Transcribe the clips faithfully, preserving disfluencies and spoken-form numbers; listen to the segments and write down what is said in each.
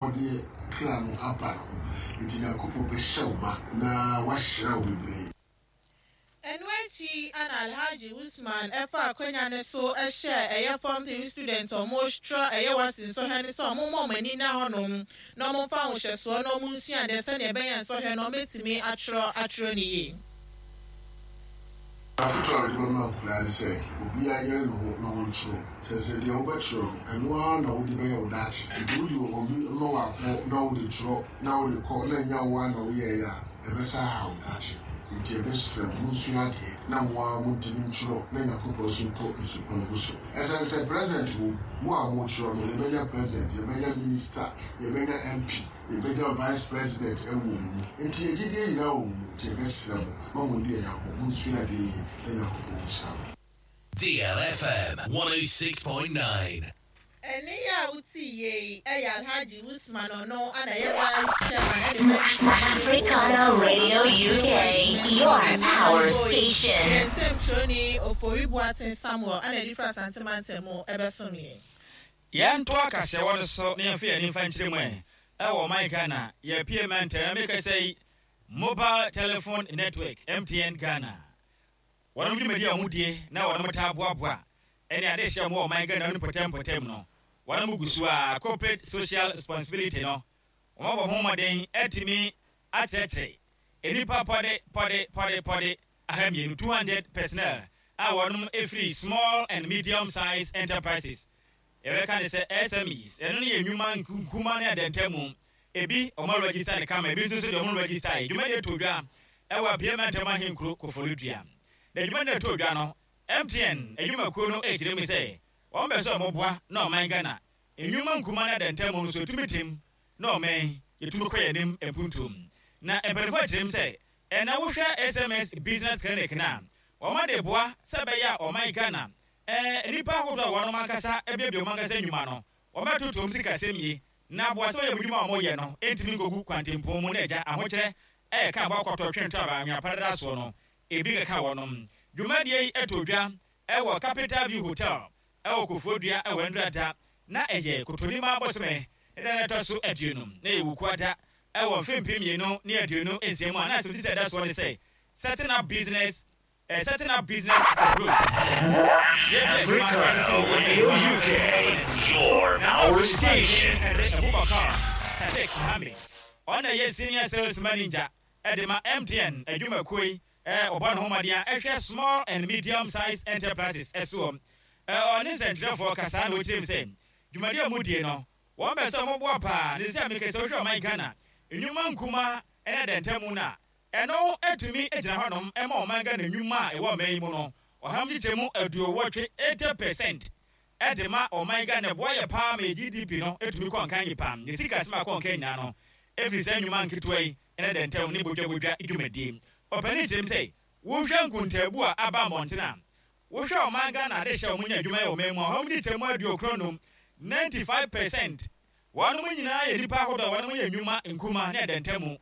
Abɔdeɛ kra no aba no ho, nti Nyankopɔn bɛhyɛ wo ma na wahyira wo bebree. Ɛno akyi ana Alhaji Usman ɛfa akonnwa ne so ɛhyɛ ɛyɛ form three student ɔmo twerɛ ɛyɛ WASSCE nsɔhwɛ ne sɛ ɔmo mmɔ ɔmo ani na hɔnom na ɔmo mfa ahohyɛsoɔ na ɔmo nsua adeɛ sɛnea ɛbɛyɛ nsɔhwɛ no ɔmo etumi atwerɛ atwerɛ ne yie. Afotu a wɔde bɛma nkwadaa ne sɛ obiara nyɛ ne ho na wɔntwerɛ sɛ sɛ deɛ wobɛtwerɛ no, ɛno ara na wode bɛyɛ wo daakye. Nti wode obi ma wakɔ na wode twerɛ na wode kɔ na ɛnya wo ara na woyɛeɛ a, ɛbɛsa aha wo daakye. Nti ɛbɛsrɛ mo, monsua adeɛ na mo ara montumi ntwerɛ na Nyankopɔn nso ntɔ nsupa ngu so. Ɛsiane sɛ president wɔ mu a motwerɛ no, yɛbɛnya president, yɛbɛnya minister, yɛbɛnya M P, yɛbɛnya vice president ɛwɔ mu mu. Nti yɛgyidie nyinaa wɔ mu mu. Nti yɛbɛsrɛ mo ma mo ani ɛyɛ monsua adeɛ yie na Nyankopɔn nhyira mo. D L F M one oh six point nine. Ɛne yɛ a wote yie yi ɛyɛ Alhaji Usman, ɔno ana ɛyɛ vice chairman ɛde bɛ Africana Radio U K, your power station. Yɛn nsɛm twerɛni Ofori Boaten Samuel ana ɛde fira Asantemantam mu ɛbɛsom yɛn. Yɛnto akaseɛwɔ no so na yɛmfa yɛn ani mfa nkyerɛ mu ɛ ɛwɔ ɔman Ghana yɛpie mɛntɛ na meka sɛ yi mobile telephone network M T N Ghana, wɔnom dwumadi a wɔn die na wɔnom taa boaboa ɛne ade hyɛ mu wɔ ɔman Ghana no mpɔtam mpɔtam no, wɔnom gu so a corporate social responsibility no, wɔn abɔ ho mmɔden atumi akyerɛkyerɛ nnipa pɔde pɔde pɔde pɔde aha mmienu, two hundred personnel a wɔnom efiri small and medium size enterprises, yɛbɛka ne sɛ S M Es. Ɛno no yɛ nnwuma nkuma ne adantamu. Ebi ɔmo register ne kama, ebi nso so deɛ ɔmo register yi. Dwumadie to dwa ɛwɔ Apia Mantam ahenkuro Koforidua, na dwumadie to dwa no, M T N adwumakuo no ɛkyerɛ mu sɛ wɔn bɛ sɛ ɔmo boa na ɔman Ghana nnwuma nkuma ne adantamu nso etumi tim na ɔman yɛtumi kɔ yɛn anim mpuntum. Na mpanimfoɔ akyerɛ mu sɛ ɛna wohwɛ S M Es business clinic na wɔn de boa sɛ ɛbɛyɛ a ɔman Ghana ɛɛ nipa ahodoɔ a wɔn ankasa abiabia wɔn ankasa nnwuma no, wɔn bɛtoto wɔn sikasɛm yie na aboa sɛ ɔyɛ adwuma a wɔyɛ no ntumi nkogu kwantempɔn mu na agya ahokyerɛ ɛyɛ ka aboa kɔtɔ twɛn to aba anwea padada soɔ no ebi keka wɔnom. Dwumadie yi ɛtɔ dwa ɛwɔ Capital View Hotel ɛwɔ Koforidua ɛwɔ Ndurada, na ɛyɛ Kotonima abɔsome ne da ɛtɔ so aduonu na yɛ Wukuada ɛwɔ mfe mpem mmienu ne aduonu nsia mu a na asɛm titi ɛda soɔ ne sɛ setting up business uh, setting up business for growth. Africana Radio U K, your power station. Abubakar Sadiq Mohammed, ɔna yɛ senior sales manager ɛde ma M T N adwumakuo yi, ɛɛ ɔbɔ ne ho mmɔden a ɛhwɛ small and medium size enterprises ɛsoɔ. ɛɛ ɔne nsɛntwerɛfoɔ kasa na wɔkyerɛ mu sɛ dwumadie a mu die no, wɔn bɛ sɛ ɔmoboa paa ne sɛ mekɛ sɛ wohwɛ ɔman Ghana nnwuma nkuma ɛne dɛntɛmu no a, ɛno atumi gyina hɔnom ɛma ɔman Ghana nnwuma a ɛwɔ ɔman yi mu no ɔham kyekyɛ mu aduowɔtwe, eighty percent, ɛde ma ɔman Ghana. Boa yɛ paa ma yɛ G D P no etumi kɔ nkan yi paa, yɛ sika asɛm akɔ nkan nyinaa no efiri sɛ nnwuma nketewa yi ɛne dɛntɛm ne bodwabodwa dwumadie. Ɔpanin kyerɛ mu sɛ wohwɛ nkuntaabu a aba mmɔnten a, wohwɛ ɔman Ghana ade hyɛ wɔn nya adwuma yɛ ɔman mu a, ɔham kyekyɛ mu aduokron num, ninety five percent, wɔn nyinaa yɛ nipa ahodoɔ a wɔn yɛ nnwuma nkuma ne dɛntɛm.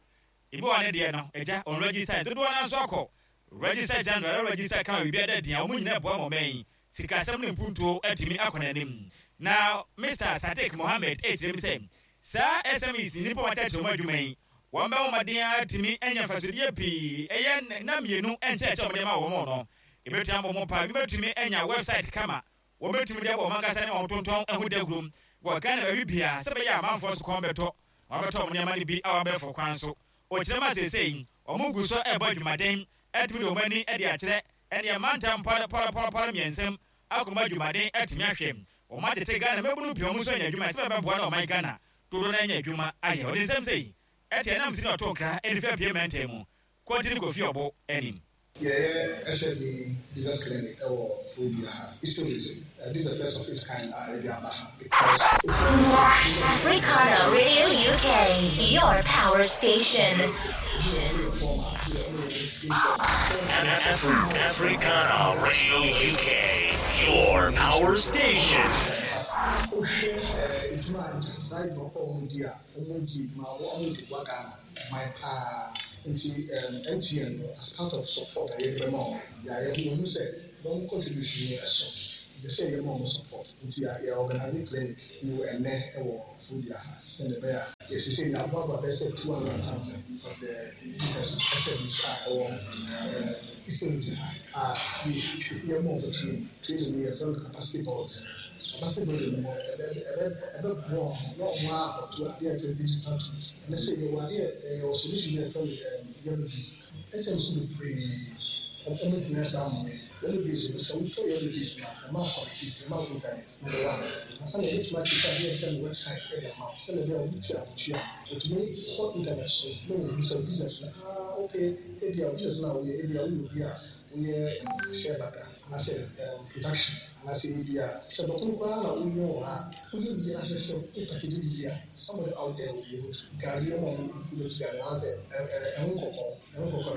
Ebi wɔ ne deɛ no agya ɔn register, dodoɔ no nso akɔ register general, register kan biribi ada din a wɔn nyinaa boa ma ɔman yi sikasɛm ne mpuntuo atumi akɔ n'anim. Na Mister Sadiq Mohammed ɛkyerɛ mu sɛ saa S M Es nipa wɔn akyerɛkyerɛ wɔn adwuma yi, wɔn bɛ wɔn mmɔden atumi anya mfasodeɛ pii. Ɛyɛ nna mmienu nkyɛnkyɛn wɔn de ma wɔn no, ebɛtumi abɔ wɔn pa, ebi bɛtumi anya website kama wɔn bɛtumi de abɔ wɔn ankasa ne wɔn tontɔn ɛho dawuro wɔ Ghana baabi bia sɛ bɛyɛ amanfoɔ so kɔn bɛtɔ wɔn abɛtɔ wɔn nneɛma no bi a wɔabɛfo kwan so. Ɔkyerɛ ma seesei wɔn gu so ɛbɔ adwumaden atumi de wɔn ani de akyerɛ ɛneɛ mantam pɔrɔpɔrɔpɔrɔ mmiɛnsɛm akɔma adwumaden atumi ahwɛ wɔn atete Ghana mmabunu pii, wɔn nso anya adwuma sɛ bɛbɛboa na ɔman Ghana dodoɔ no anya adwuma ayɛ. Ɔde nsɛm sɛ yi ɛte ɛnam si na ɔto nkra ɛde fi Apia mɛntɛn mu Kɔntini Kofi Ɔbo anim. Yɛyɛ S M E business clinic ɛwɔ Koforidua ha, Eastern Region. Uh, this is the first of its kind a yɛde aba ha because Africana Radio U K, your power station. Afri- Africana Radio U K, your power station. Wohwɛ edwuma a saa edwuma kɔ wɔn di a, wɔn di edwuma, wɔn de boa Ghana man paa. Nti um, M T N no, as part of support a yɛde bɛma wɔn, yɛayɛ wɔn ho sɛ wɔn contribution no ɛso. Yɛ sɛ yɛ ma ɔmo support, nti yɛ organize clinic yi wɔ ɛnɛ ɛwɔ Fodua ha, sɛnɛ ɛbɛyɛ a yɛsese yɛ aboaboa bɛyɛ sɛ two hundred and something of the businesses, S M Es a ɛwɔ ɛɛ Eastern Region ha a yɛ yɛ ma ɔmo training. Training no, yɛfrɛ no capacity building. Capacity building no, ɛbɛ ɛbɛ ɛbɛboa ɔmo na ɔmo akɔto adeɛ a yɛfrɛ digital tools. Ɛnɛ sɛ yɛwɔ adeɛ, ɛyɛ solution bi a yɛfrɛ no ɛɛm Yellow Biz. S M Es bebree ɔmo hia saa mmoa yi. Yellow Biz no, sɛ wotɔ Yellow Biz no a, ɛma connectivity, ɛma internet number one. Ansa na yɛbɛtumi akeka adeɛ a yɛfrɛ no website ɛde ama wo, sɛdeɛ ɛbɛyɛ a obi te ahotua a, otumi kɔ internet so na ohu sɛ business no, ah, okay, ebi a business no a woyɛ, ebi a woyɛ obi a woyɛ shea butter anaasɛ um, production, anaasɛ ebi a sɛ dɔkono koraa na woyɛ wɔ ha, woyɛ wie na sɛ sɛ wo package bi yie a, somebody out there will be able to gari ɔmo a ɔmo bɛtu gari anaasɛ ɛho kɔkɔɔ ɛho kɔkɔɔ.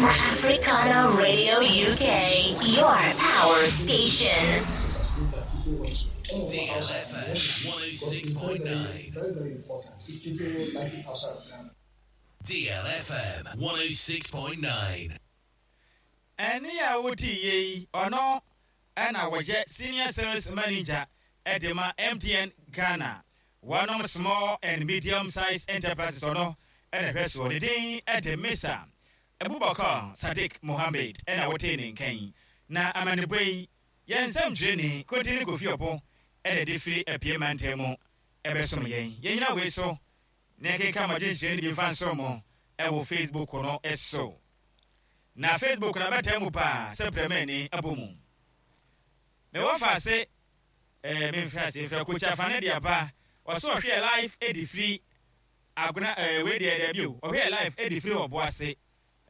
Africana Radio U K, your power station. D L F M one oh six point nine. Very, very important. People like it outside of Ghana. D L F M one oh six point nine. Ɛne a wodi yie yi, ɔno ɛna wɔyɛ senior sales manager ɛde ma M T N Ghana, wɔnom small and medium size enterprises. Ɔno ɛna hwɛ soɔ. Ne din ɛde Mister Abubakar Sadiq Mohammed. Ɛna wote ne nkan na amanebɔ yi, yɛn nsɛm twerɛni Kodi ne Kofi Ɔpo ɛna ɛde firi apie mantam mu ɛbɛsom yɛn. Yɛnyina wei so na yɛkeka madwenkyerɛ no bi mfa nso mo ɛwɔ Facebook no ɛso, na Facebook na bɛtaa mu paa sɛ prɛmani abɔ mu. Mewɔ fa ase ɛɛ memfrɛ ase mfrɛ Kokyi Afane de aba. Ɔsɛ ɔhwɛ live ɛde firi Agona. ɛɛ wei deɛ, dɛbi o, ɔhwɛ live ɛde firi ɔbo ase.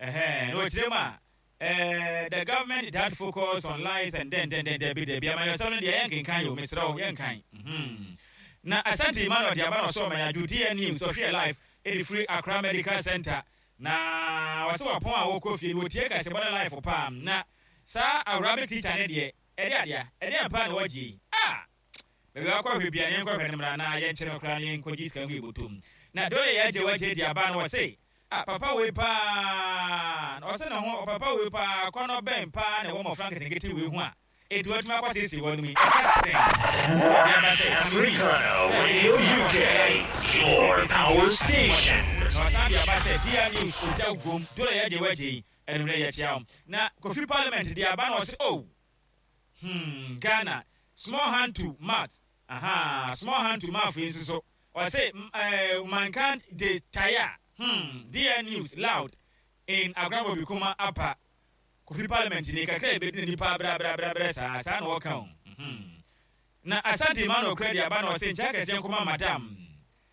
Ɛhɛn, na ɔkyerɛ mu a, ɛɛ the government that focus on lies and then then then dɛbi dɛbi, amayɔsɛm no deɛ, yɛnkenkan yi o, mesrɛ wo, yɛnkan mhm na Asante Emmanuel de aba na ɔsɛ ɔmanya Dwodie News, ɔhwɛ live ɛde firi Accra Medical Center, na wɔsɛ wɔpɔn a wɔkɔ fie no, wɔtie kasɛbɔ no live paa. Na saa Arabic teacher ne deɛ, ɛde adeɛ ɛde ampa na wɔgye yi a baabi wakɔ hwɛ bia ne yɛnkɔhwɛ no mmara na yɛnkyerɛ no koraa na yɛnkɔgye sika ngu yɛbɔtɔm. Na dole yɛagye wagye de aba no, wɔse ah, papa wei paa na ɔsɛ ne ho. Papa wei paa, kɔnɔ bɛn paa na ɛwɔ mmɔfra nketenkete wei ho a ɛnti watumi akɔ siesie wɔ no mu yi, ɛka sɛn ɔde aba sɛ Africana Radio U K, your power station. Na ɔsan de aba sɛ D R News ogya gom. Dole yɛagye wagye yi, ɛnumere yɛkyia wo. Na Kofi Parliament de aba na ɔse, oh, hmm Ghana small hand to mouth, aha, small hand to mouth yi nso so, ɔse ɛɛ mankind dey tire. hmm D N News loud in Agorabɔ Kuma apa. Kofi Parliament ni kakra ebedi na nipa abrɛabrɛabrɛ saa saa na wɔka o mhm. Na Asante Emmanuel kura de aba na ɔse nkyɛn kɛseɛ nkɔma Madam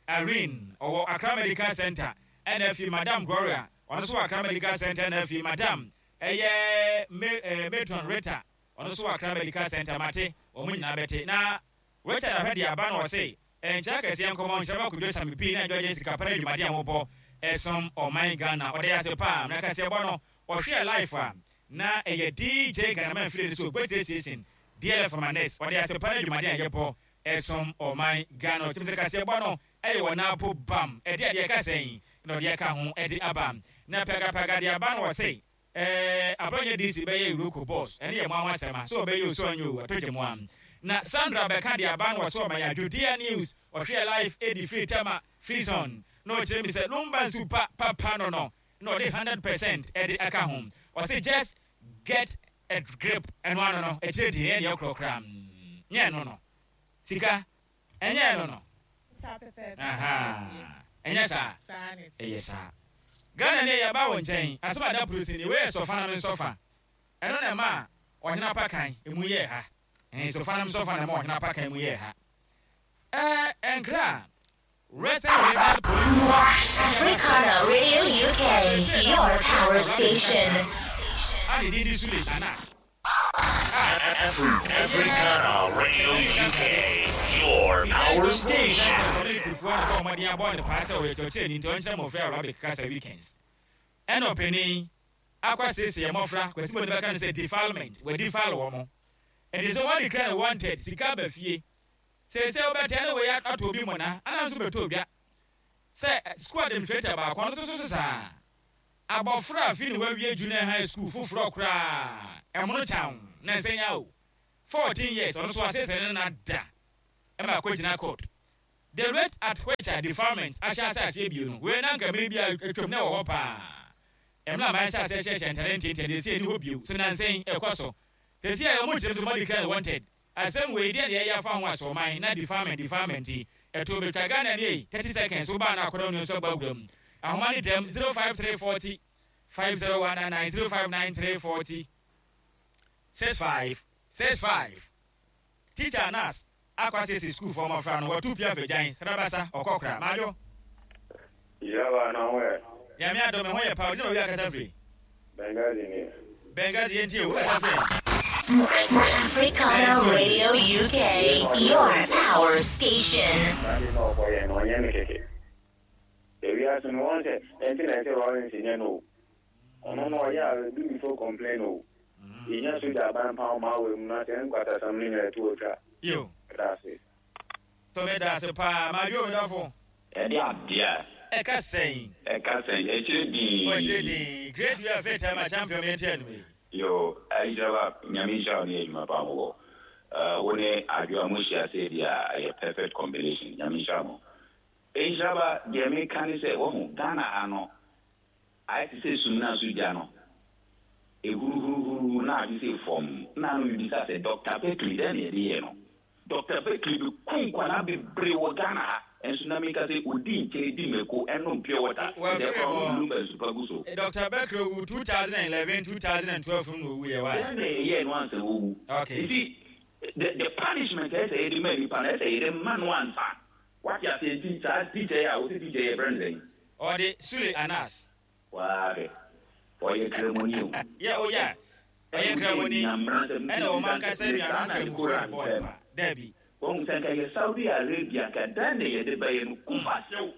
Irene, ɔwɔ Accra Medical Center, ɛna afi Madam Gloria, ɔno nso wɔ Accra Medical Center, ɛna afi Madam ɛyɛ me ɛɛ Matron Rita, ɔno nso wɔ Accra Medical Center. Mate wɔn nyinaa bɛte. Na Richard Ahwɛ de aba na ɔse nkyɛn kɛseɛ nkɔmɔ nhyɛn baako sami pii na adwa sika pɛrɛ dwumadi a wɔbɔ ɛsom ɔman Ghana. Ɔde yɛ ase paa na kɛseɛ bɔ no, ɔhwɛ live a na ɛyɛ D J Ghana man firi ne so Gbɛtire Station D L F Manes. Ɔde ase pa no dwumadi a yɛbɔ ɛsom ɔman Ghana. Ɔkyɛm sɛ kaseɛ bɔ no ɛyɛ wɔ naapo bam ɛde adeɛ kasa yi na ɔde ɛka ho ɛde aba. Na pɛgapɛga de aba no, wɔse ɛɛ Abronye D C bɛyɛ EOCO boss. Ɛne yɛ mo aho asɛm a so ɔbɛyɛ osu ɔnyɛ o, ɛtɔ gye mo a. Na Sandra bɛka de aba no, wɔso ɔma yɛ adwodeɛ News, ɔhwɛ live ɛdi firi Tema Free Zone, na ɔkyerɛ mi sɛ lumba nsu pa papa no no na ɔde hundred percent ɛde aka ho. Ɔse just get a grip. Ɛno ano no akyire deɛ, ɛyɛ deɛ korɔkora nyɛ ɛno no sika, ɛnyɛ ɛno no. Saa pɛpɛɛpɛ. Aha. Ɛnyɛ saa? Saa ne ti. Ɛyɛ saa. Ghana ne yɛba wɔ nkyɛn asɛm ada polisi ni wei yɛ sɔfa nam nsɔfa. Ɛno na ɛma a ɔhene apakan emu yɛɛ ha. Ɛn sɔfa nam nsɔfa na ɛma ɔhene apakan mu yɛɛ ha. Ɛɛ ɛnkra Western Regional Police Africana Radio U K, your power station. A ne din di Sule Anas. Afri- Africana Radio U K, your power station. Communityfoɔ na bɔ ɔmɔden abɔ ne paa sɛ ɔyɛ kyerɛkyerɛni, nti ɔnkyerɛ mmɔfra Arabic kasa weekends. Ɛna ɔpanin akɔ asiesie mmɔfra kwasi bɔ ne bɛka no sɛ defilement, wɔ defile wɔ mo. Ɛnti sɛ wɔde kra no wanted sika ba fie seesei, wobɛtɛ ne wei ato obi mmɔna ana nso bɛtɔ odwa sɛ school administrator baako ɔno nso so saa abɔfra a fi ne wawie junior high school foforɔ koraa ɛmono kyaw na nsɛnya o. fourteen years ɔno nso asese ne na da ɛma akɔgyina court. The rate at which a defilement ahyɛ ase aseɛ bio no, wei na nka mmere bi a atwam na ɛwɔ hɔ paa. Ɛmla ma ahyɛ ase hyehyɛ ntare ntiantia de esi ani hɔ bio so nansɛn ɛkɔ so. Sɛsi a ɔmo kyerɛ mu sɛ ɔmo declare wanted. Asɛm wei deɛ na yɛyɛ afa ho asɔman na defilement defilement yi ɛto betwa Ghana ni thirty seconds wo ba na akɔda onua nso abɔ awura mu. Ahoma ne dɛm zero five three forty five zero one nine nine zero five nine three forty six five six five. Teacher Nas akɔ asese school fɔ mmɔfra no wɔtu pia fagyan srabasa ɔkɔkora madwo. Yaba na ho yɛ. Nyame adom me ho yɛ pa odi na owi akasa firi. Benghazi ni. Benghazi yɛntie wo kasa firi. Africana Radio U K, your power station. Nadi na ɔkɔ yɛ no ɔnyɛ me keke. Ewiase no wɔn sɛ ɛnti na ɛsɛ Lawrence nyɛ no. Ɔno no ɔyɛ a do before complain o. Yɛnya soja aban pa ɔma awɔ mu na sɛ nkwatasɛm no nyɛ ɛto otwa. Yo. Ɛda To me da se pa ma yo dafo. Ɛde adeɛ. Ɛka sɛn. Ɛka sɛn. Ɛkyerɛ din. Ɔkyerɛ din. Great you are fair time a champion me ntia no. Yo, Ayidraba nyame nhyira wo ne adwuma pa mo. Uh wo ne adwoa mo hyia sɛ bi a ɛyɛ perfect combination. Nyame nhyira mo. Ayidraba deɛ meka ne sɛ wo Ghana ha no ayɛ te sɛ sum na so gya no. Ehuruhuruhuru na ade sɛ fam. Na no bibisa sɛ Doctor Beckley dɛn na yɛde yɛ no. Doctor Beckley bi kum kwana bebree wɔ Ghana ha. Enso na meka sɛ odi nkyɛn di mako ɛnom pure water. Doctor Beckley wu two thousand eleven two thousand twelve no wu yɛ wa. Dɛn na yɛ no ansa wu. Okay. You see the the punishment ɛsɛ yɛ de ma nipa na ɛsɛ yɛ de ma no ansa. What you say teacher teacher ya wo teacher yɛ brand. Ɔde Sule Anas. Wa be. Ɔyɛ kremoni o. Yeah, oh yeah. Ɔyɛ kremoni. Ɛna ɔman kasa nua no kremofo ne bɔɔl pa. Debi. Wɔn sɛ nka yɛ Saudi Arabia ka dan na yɛde bɛyɛ no kufa sew.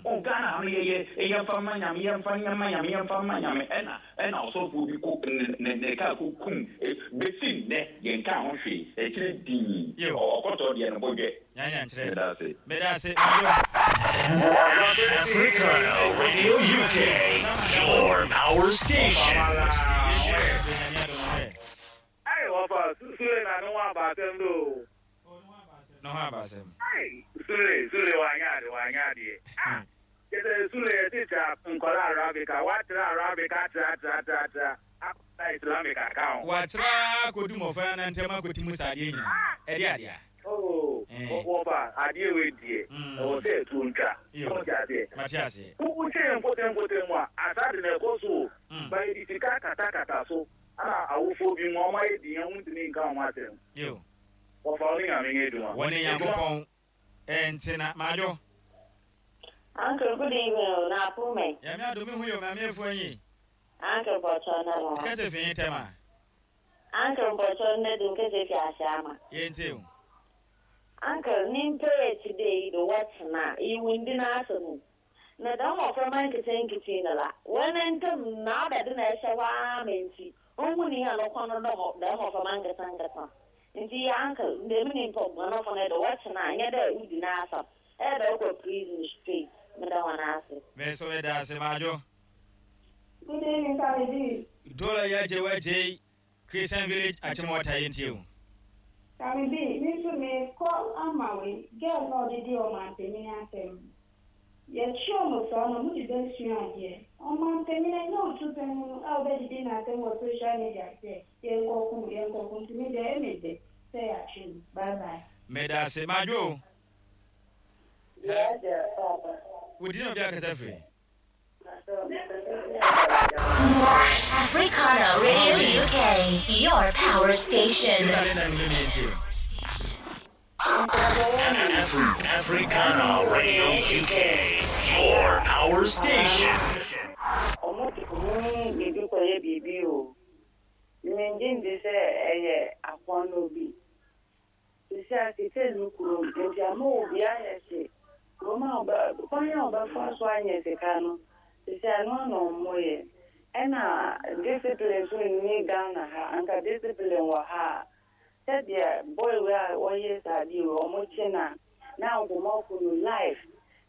O Ghana no yɛ yɛ yɛmfa ma nyame yɛmfa nyama nyame yɛmfa ma nyame ɛna ɛna ɔsɔfo bi ko ne ne ka ko kum besi nnɛ yɛnka ho hwee ɛkyerɛ din ɔkɔtɔ deɛ no bɔdwɛ. Nyanya nkyerɛ. Medase. Medase. Africana Radio U K, your power station. Hey, Papa, Sule na no wa ba sem do. No ha ba sem. Hey, Sule, Sule wa nya de wa nya de. Ah, ke Sule teacher nkola Arabica, wa tra Arabica tra tra tra tra. Akota Islamic account. Wa tra kodu mo fa na ntema kotimu sade nyina. E de ade a. Oh, Papa, ade we die. E wo se tu ntwa. Ko ja de. Matias. Ku che nkote nkote mu a asade na ekoso. Ba di sika kata kata so. Ana awofo bi mo ma ye di yan ntini nka ho asem. Yo. Wo fa oni nyame eduma. Woni Nyankopɔn entina majo. Uncle, good evening. Na pume. Ya mi adomi hu yo ma mi efu anyi. Uncle Bocho na mo. Kese fi tema. Uncle Bocho na dun kese fi asama. Ye nti o. Uncle, nimpe today the what na you windi na asemu. Na da mo from nkete nkete na la. When ntem na ba de na ehye wa menti. Onwu ni ya no kono no ho da ho from nkete nkete. Nti uncle, ndemi ni mpo no for na the what na nya da udi na asam. E da go prison straight. Me da wana ase. Me so me da se majo. Good evening, Sammy. Dola ya je wa je Christian Village Achimota yenti o. Sammy B, me so me call amawe. Girl no didi o man peni asem. Ye chi o mo so no mu di ben sua ade. O man peni na no tu peni no a obe didi na asem wo social media se. Ye nkoku ye nkoku ntumi de e me de. Say achi. Bye bye. Me da se majo. Yeah, Papa. We didn't be a free. Africana Radio U K, your power station. Afri- Africana Radio U K, your power station. Ena discipline so ni Ghana ha anka discipline wa ha said there boy we are one years adi o mo china na nkomo kunu life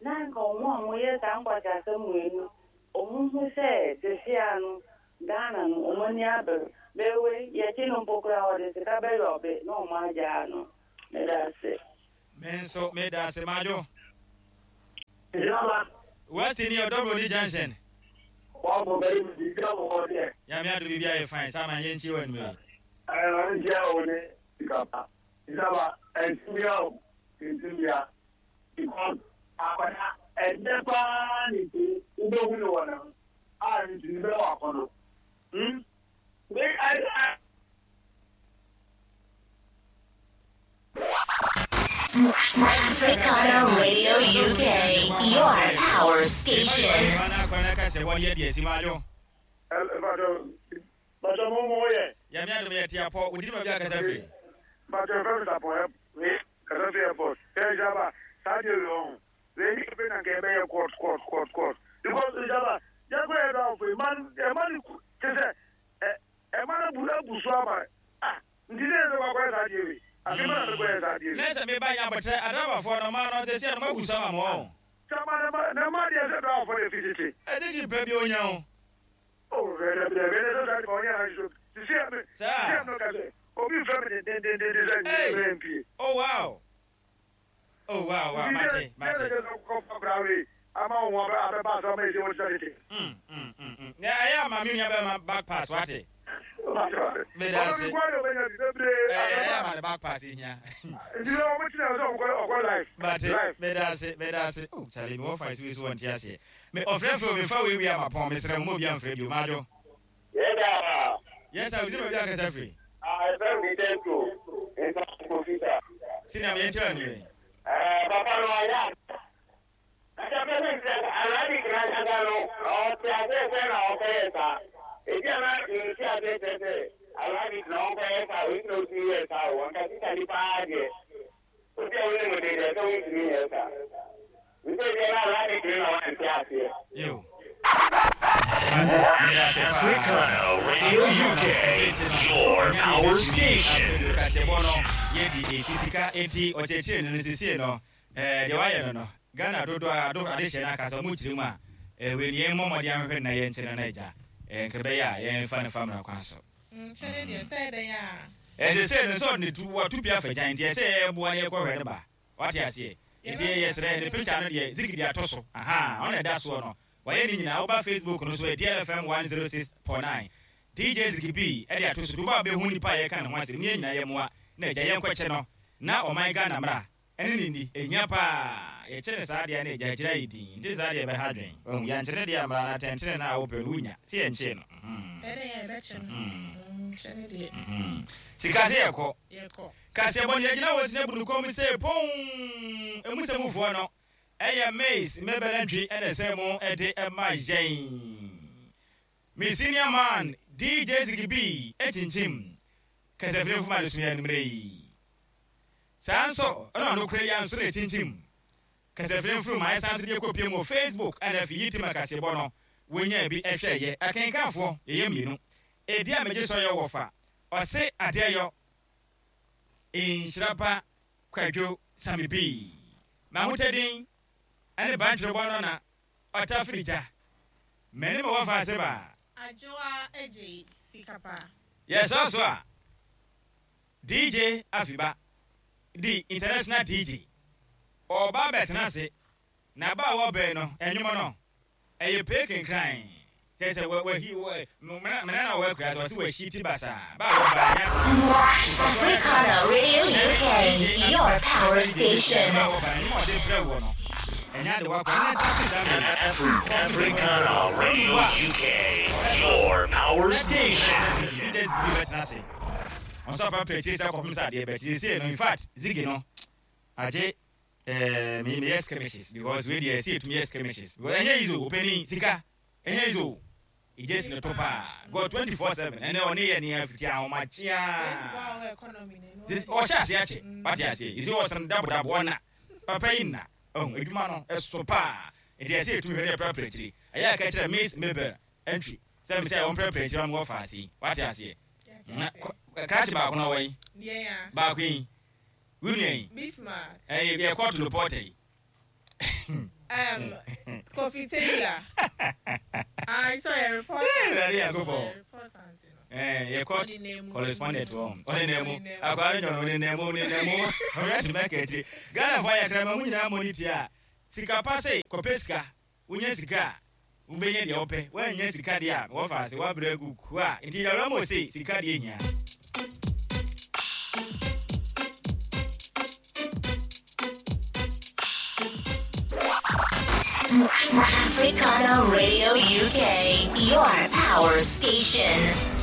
na nka omo mo yes ankwata asem enu omo hu se sesi anu Ghana no omo ni abere Mewe yɛkyi no mpo koraa wɔde sika bɛyɛ ɔbe na ɔmo agyaa no. Meda ase. Me nso meda ase madwo. Jama. West ni Odobroni Junction. Wabɔ bɛyi mi di dwa wɔ deɛ. Nyame ado biribi ayɛ fine sama yɛnkyie wɔ anwummerɛ yi. Ɛɛ nkyia wo ne sika pa. Jama ɛntumia o ɛntumia because akwadaa ɛdɛ paa ne ti wobɛhu ne wɔ ne ho a ne ti ne bɛwɔ akɔnɔ. Hmm. Wei ɛdɛ. Africana Radio U K, your power station. Nessa me banha botre adraba for no man no te se no mabusa ma mo. Chama na na ma dia se dra for the fititi. E de ki pe bi onya o. Oh, ve ve ve se dra for onya na so. Si si me. Si no ka se. Obi fa me de de de de M P. Oh wow. Oh wow wow mate mate. Ama wo ba ba ba me se wo se. Mm mm mm. Ya ya ma mi nya ba ma back pass wate. Me da se. Eh, ma back pass here. But me da se, me da se. Oh, Charlie, me ofa isi so wonti ase. Me ofrefo me fa we wi ama pon me sere mo bi amfre bi o majo. Yeda. Yes, I will be akasa free. Ah, e me tento. E sa profita. Sina me enti anu. Eh, papa no aya. Aka pe se alani granja no, o te ase se na o pe sa. Ebi ana nsi ase se se. Alani na o pe sa, o no ti ye sa, o nka ti tani pa de. O ti o ni mo de de so ni ye sa. Nse de na alani na o nti ase. Yo. Africana Radio U K, your power station. Yedi esisika enti ocheche no sisi no eh de waye no no Ghana dodo ado adehye na kasa mu kyerem a eh we ni momodi ahwehwe na ye nkyere na agya eh nkebe ya ye mfa ne famra kwan so. Nkyere de say de ya. Eh se se no so ne tu wa tu pia fa gyan de se ye boa ne ye kɔhwɛ ne ba. Wate ase. Enti ye sere ne picture no de zigidi atoso. Aha, on da so no. Waye ni nyina oba Facebook no so D L F M one oh six point nine. D J Ziggy B e de atoso do ba be hu nipa ye ka ne ho asem ne nyina ye moa na agya ye nkɔkyɛ no na ɔman Ghana mra. Ene ni ni ehia pa ye kyere saa de na agya kyere yi din nti saa de be ha dwen ohu ya nkyere de amra na tentene na wo pe no wunya se ye nkye no. Ene ye be kye no nkyere de sika se ye kɔ ye kɔ ka se bon ye gina wo sine bunu kom se pon emu se mufo no eye maize mebele ntwi ene se mo ede e ma yen mi senior man D J Ziggy B etinchim kese fuma de suya nimre yi sanso ono no kure ya nso na etinchim kese furu ma sanso de kopie mo Facebook ana fi yitima kase bo no wonya bi ehwe ye akenkanfo ye mienu edi ameje so ye wofa ose adeyo inshirapa kwadwo Sami B ma hotedin ane bantwe bo no na otafrija meni me wofa se ba ajoa eje sikapa. Yes also D J Afiba the international D J oba betena se na ba wo be no enwom no eye pekin crime tese we we hi we mena na we kura so se we shiti basa ba wo ba nya. Africana Radio U K, your power station. Africana Radio U K, your power station. On so pa purchase akopem sa de bet you say no in fact Ziggy no aje eh me me skirmishes because we dey see it me skirmishes because enye izo opening sika enye izo ije no topa go twenty-four seven ene oni ye ni afiti ahoma chia this o sha se ache what ya say is o san dabo dabo na papa ina oh eduma no eso pa e dey see it me hwe prepare chiri aya ka chira miss Mabel entry say me say on prepare chiri am go fast what ya say ka chi ba ko na wai yeah ba queen wuni Bismarck eh ye court report yi um Kofi Taylor I saw a report. Yeah, yeah, go for. Eh, yɛ court correspondent wɔ ɔne na mu akwara nyɔno ɔne na mu ɔne na mu ɔyɛ ti bɛ kɛtiri Ghana fo ayɛ kra ma mu nyinaa mo ni tia sika pa se kɔpɛ sika wonya sika a wobɛnya deɛ wopɛ woanya sika deɛ a wɔfa ase woabrɛ agu kua nti yɛwura mo se sika deɛ hia. Africana Radio U K, your power station.